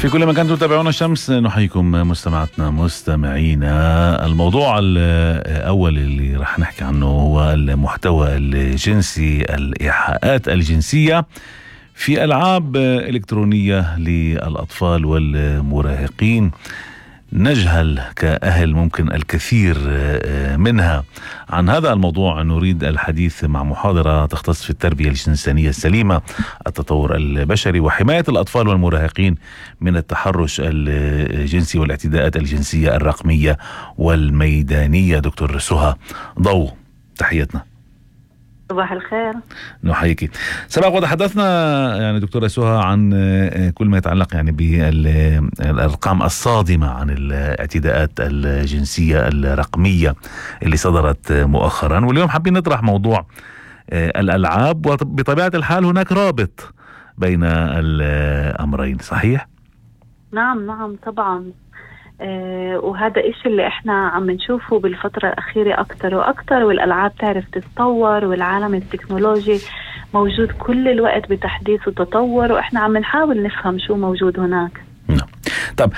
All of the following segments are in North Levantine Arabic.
في كل مكان تتابعون الشمس نحييكم مستمعاتنا مستمعينا. الموضوع الأول اللي رح نحكي عنه هو المحتوى الجنسي، الإيحاءات الجنسية في ألعاب إلكترونية للأطفال والمراهقين. نجهل كأهل ممكن الكثير منها. عن هذا الموضوع نريد الحديث مع محاضرة تختص في التربية الجنسانية السليمة، التطور البشري وحماية الأطفال والمراهقين من التحرش الجنسي والاعتداءات الجنسية الرقمية والميدانية. دكتور سهى ضو، تحياتنا. صباح الخير. نحييك. سبق وتحدثنا يعني دكتورة سهى عن كل ما يتعلق يعني بالأرقام الصادمة عن الاعتداءات الجنسية الرقمية اللي صدرت مؤخرا، واليوم حابين نطرح موضوع الألعاب، وبطبيعة الحال هناك رابط بين الأمرين، صحيح؟ نعم طبعا. وهذا إشي اللي احنا عم نشوفه بالفترة الأخيرة أكتر وأكتر، والألعاب تعرف تتطور، والعالم التكنولوجي موجود كل الوقت بتحديث وتطور، وإحنا عم نحاول نفهم شو موجود هناك. نعم. طب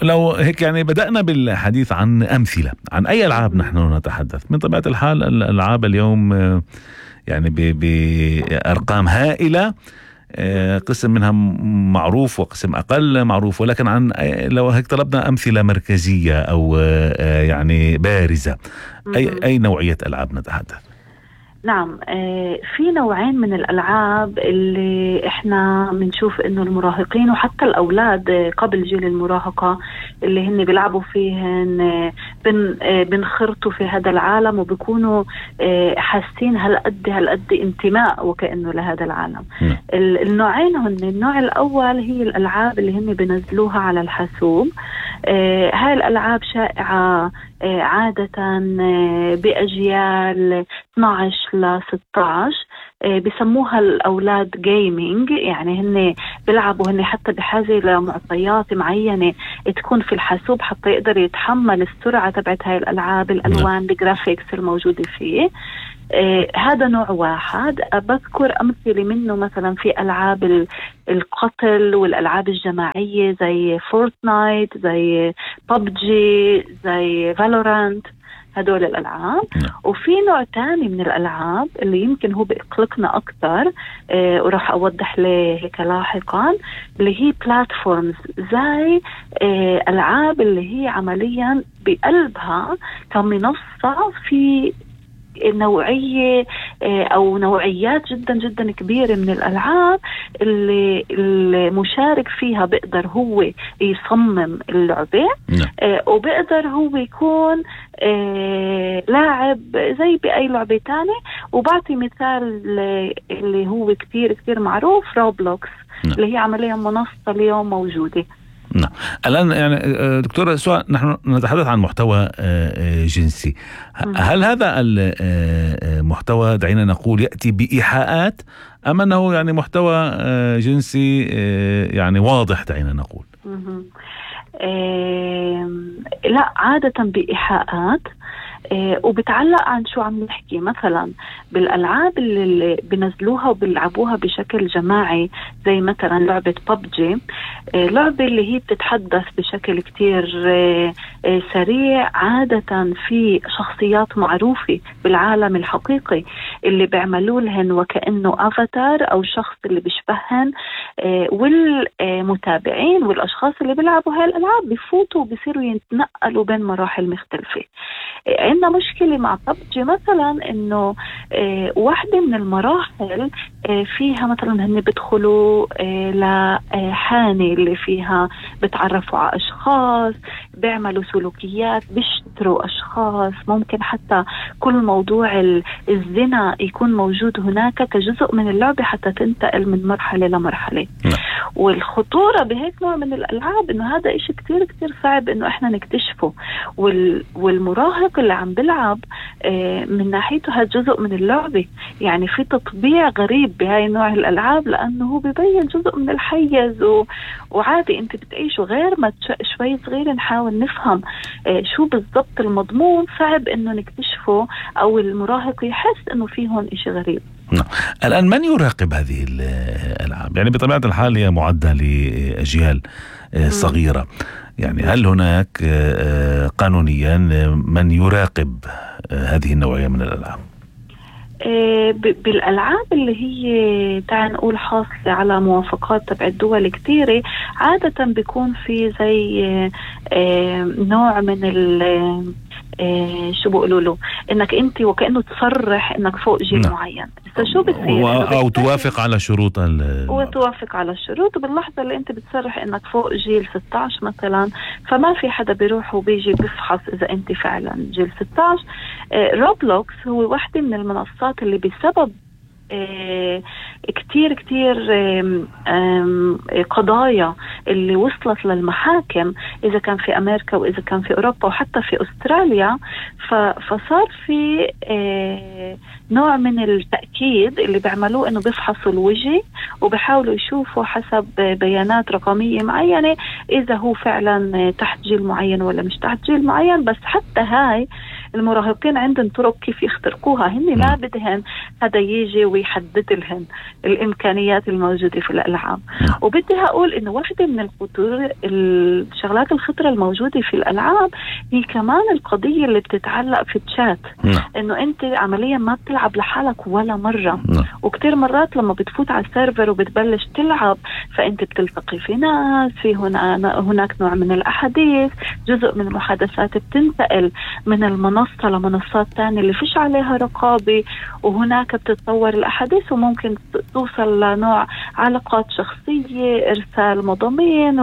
لو هيك يعني بدأنا بالحديث عن أمثلة، عن أي ألعاب نحن نتحدث؟ من طبيعة الحال الألعاب اليوم يعني بأرقام هائلة، قسم منها معروف وقسم أقل معروف، ولكن عن لو هيك طلبنا أمثلة مركزية أو يعني بارزة، أي نوعية ألعاب نتحدث؟ نعم، في نوعين من الألعاب اللي احنا بنشوف انه المراهقين وحتى الأولاد قبل جيل المراهقة اللي هن بيلعبوا فيهن بنخرطوا في هذا العالم، وبيكونوا حاسين هالقد انتماء وكأنه لهذا العالم. النوعين هن، النوع الأول هي الألعاب اللي هن بنزلوها على الحاسوب. هاي الألعاب شائعة عادة بأجيال 12 ل 16، بسموها الأولاد جيمينج، يعني هن بيلعبوا، هن حتى بحاجة لمعطيات معينة تكون في الحاسوب حتى يقدر يتحمل السرعة تبعت هاي الألعاب، الألوان، الجرافيكس الموجودة فيه. هذا نوع واحد. بذكر أمثلة منه مثلا في ألعاب القتل والألعاب الجماعية زي فورتنايت، زي ببجي، زي فالورانت، هدول الألعاب. وفي نوع تاني من الألعاب اللي يمكن هو بيقلقنا أكتر، وراح أوضح له هيك لاحقا، اللي هي بلاتفورمز، زي ألعاب اللي هي عمليا بقلبها كمنصة في نوعية أو نوعيات جدا جدا كبيرة من الألعاب اللي المشارك فيها بيقدر هو يصمم اللعبة، وبيقدر هو يكون لاعب زي بأي لعبة تانية. وبعطي مثال اللي هو كتير كتير معروف، روبلوكس، اللي هي عمليا منصة اليوم موجودة. نعم. الآن يعني دكتورة سهى، نحن نتحدث عن محتوى جنسي. هل هذا المحتوى دعينا نقول يأتي بإيحاءات، أم أنه يعني محتوى جنسي يعني واضح دعينا نقول؟ لا، عادة بإيحاءات، وبتعلق عن شو عم نحكي. مثلا بالألعاب اللي بنزلوها وبيلعبوها بشكل جماعي، زي مثلا لعبة ببجي، لعبة اللي هي بتتحدث بشكل كتير سريع، عادة في شخصيات معروفة بالعالم الحقيقي اللي بيعملوا لهن وكأنه أفاتار أو شخص اللي بيشبهن، والمتابعين والأشخاص اللي بيلعبوا هاي الألعاب بيفوتوا وبيصيروا يتنقلوا بين مراحل مختلفة. عندنا مشكلة مع ببجي مثلا، انه واحدة من المراحل فيها مثلا هن بيدخلوا لحانة اللي فيها بتعرفوا على اشخاص، بيعملوا سلوكيات، بيشتروا اشخاص، ممكن حتى كل موضوع الزنا يكون موجود هناك كجزء من اللعبة حتى تنتقل من مرحلة لمرحلة. والخطورة بهيك نوع من الألعاب إنه هذا إشي كتير كتير صعب إنه إحنا نكتشفه، والمراهق اللي عم بلعب من ناحيته هذا جزء من اللعبة. يعني في تطبيع غريب بهاي نوع الألعاب، لأنه هو بيبين جزء من الحيز وعادي أنت بتعيشه، غير ما شوي صغير نحاول نفهم شو بالضبط المضمون. صعب إنه نكتشفه أو المراهق يحس إنه فيه هون إشي غريب. نعم. الآن من يراقب هذه الألعاب؟ يعني بطبيعة الحال هي معدة لأجيال صغيرة، يعني هل هناك قانونيا من يراقب هذه النوعية من الألعاب؟ بالألعاب اللي هي تعال نقول حاصلة على موافقات تبع الدول كتيرة، عادة بيكون في زي نوع من شو بقولوا له، انك انت وكأنه تصرح انك فوق جيل معين. شو بتصير او توافق على شروط وتوافق على الشروط، وباللحظة اللي انت بتصرح انك فوق جيل 16 مثلا، فما في حدا بيروح وبيجي بيفحص اذا انت فعلا جيل 16. روبلوكس هو واحدة من المنصات اللي بسبب كتير قضايا اللي وصلت للمحاكم، إذا كان في أمريكا وإذا كان في أوروبا وحتى في أستراليا، فصار في نوع من التأكيد اللي بيعملوه إنه بيفحصوا الوجه وبيحاولوا يشوفوا حسب بيانات رقمية معينة إذا هو فعلا تحت جيل معين ولا مش تحت جيل معين. بس حتى هاي المراهقين عندهم طرق كيف يخترقوها، هن ما بدهن هذا يجي ويحدد لهم الإمكانيات الموجودة في الألعاب. وبدي أقول إنه واحدة من الخطور الشغلات الخطرة الموجودة في الألعاب هي كمان القضية اللي بتتعلق في الشات، إنه أنت عمليا ما بتلعب لحالك ولا مرة، وكتير مرات لما بتفوت على السيرفر وبتبلش تلعب فأنت بتلتقي في ناس، في هناك نوع من الأحاديث، جزء من المحادثات بتنتقل من المنصة لمنصات تانية اللي فيش عليها رقابة، وهناك بتتطور الأحاديث وممكن توصل لنوع علاقات شخصية، إرسال مضامين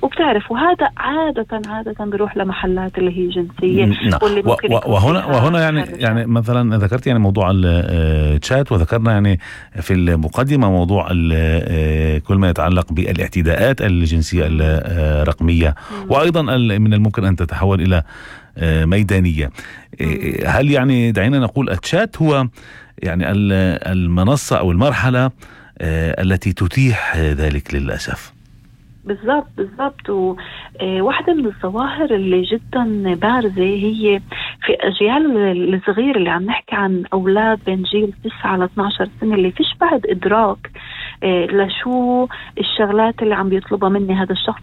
وبتعرف، وهذا عادة بيروح لمحلات اللي هي جنسية. واللي ممكن وهنا يعني مثلا ذكرت يعني موضوع الشات، وذكرنا يعني في المقدمة موضوع كل ما يتعلق بالاعتداءات الجنسية الرقمية، وأيضا من الممكن أن تتحول إلى ميدانية. هل يعني دعينا نقول الشات هو يعني المنصة أو المرحلة التي تتيح ذلك للأسف؟ بالضبط. وواحدة من الظواهر اللي جدا بارزة هي في أجيال الصغير اللي عم نحكي عن أولاد بين جيل 9 ل 12 سنة اللي فيش بعد إدراك لشو الشغلات اللي عم بيطلبها مني هذا الشخص